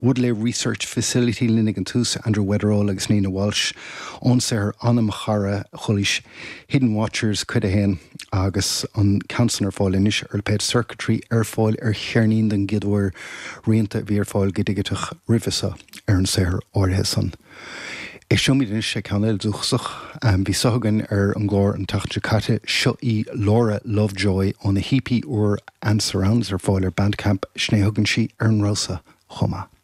Woodleigh Research Facility linn ag an tús, Andrew Weatherall agus Nina Walsh ón saothar Anam Chara Chulaois, Hidden Watchers Cuid 1, agus an ceann san ar fáil anois ar lipéad Circuitry, ar fáil ar cheirnín den gcéad uair, rianta a bhí ar fáil go digiteach roimhe seo ar an saothar áirithe san. Éisteoimid anois le ceann eile dúchasach. Bhí seo againn ar an gclár an tseachtain seo caite. Seo í Laura Lovejoy óna hEP úr And Surrounds ar fáil ar Bandcamp. Sin é a thugann sí ar an rogha seo chomh maith.